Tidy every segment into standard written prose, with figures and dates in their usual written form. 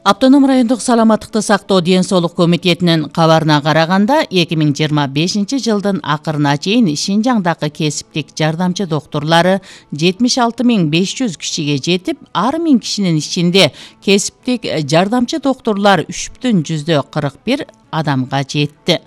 Автоном райондук саламаттыкты сактоо ден соолук комитетинин кабарына караганда 2025 жылдын акырына чейин Шинжаңдагы кесиптик жардамчы доктурлары 76.500 кишиге жетип, ар 1000 кишинин ичинде кесиптик жардамчы доктурлар 3,41 адамга жетти.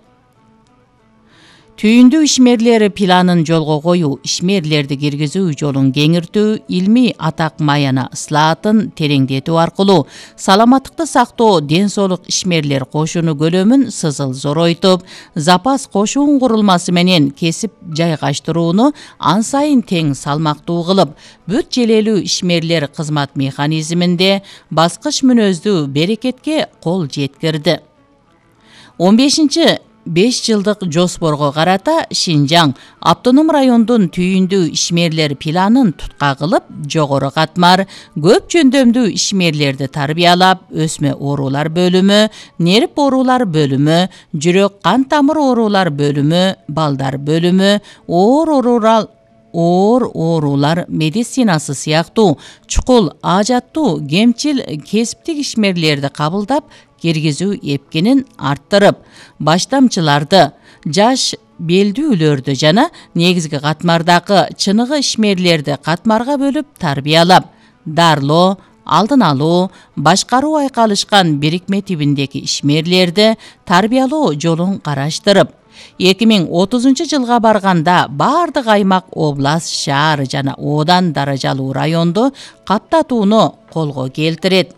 Түйүндүү ишмерлер планын жолго коюу, ишмерлерди киргизүү жолун кеңиртүү, илмий атак маяна ыслаатын тереңдетүү аркылуу саламаттыкты сактоо ден соолук ишмерлер кошуну көлөмүн сызыл зоройтуп, запас кошуун курулмасы менен кесип жайгаштырууну ан сайын тең салмактуу кылып, бүт желелүү ишмерлер кызмат механизминде баскыч мүнөздүү берекетке кол жеткирди. 15 5 жылдык жоспорго карата Шинжаң автоном райондун түйүндүү ишмерлер планын тутка кылып, жогору катмар, көп жөндөмдүү ишмерлерди тарбиялап, өсмө оорулар бөлүмү, нерв оорулар бөлүмү, жүрөк кан тамыр оорулар бөлүмү, балдар бөлүмү, оор оорулар медицинасы сыяктуу чукул ажаттуу кемчил кесиптик ишмерлерди кабылдап киргизүү эпкинин арттырып, баштамчыларды, жаш белдүүлөрдү жана негизги катмардагы чыныгы ишмерлерди катмарга бөлүп тарбиялап, дарылоо, алдын алуу, башкаруу айкалышкан бирикме тибиндеги ишмерлерди тарбиялоо жолун караштырып, 2030 жылга барганда бардык аймак, область, шаар жана одан даражалуу районду каптатууну колго келтирет.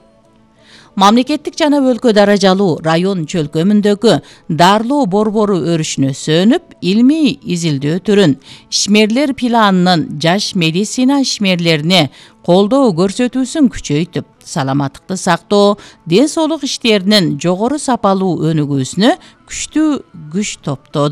Мамлекеттик жана өлкө даражалуу район чөлкөмүндөгү дарылоо борбору өрүшүнө сөнүп, илмий изилдөө түрүн ишмерлер планынын жаш медицина ишмерлерине колдоо көрсөтүүсүн күчөйтүп, саламаттыкты сактоо, ден соолук иштеринин жогору сапалуу өнүгүүсүнө күчтүү күч топтоду.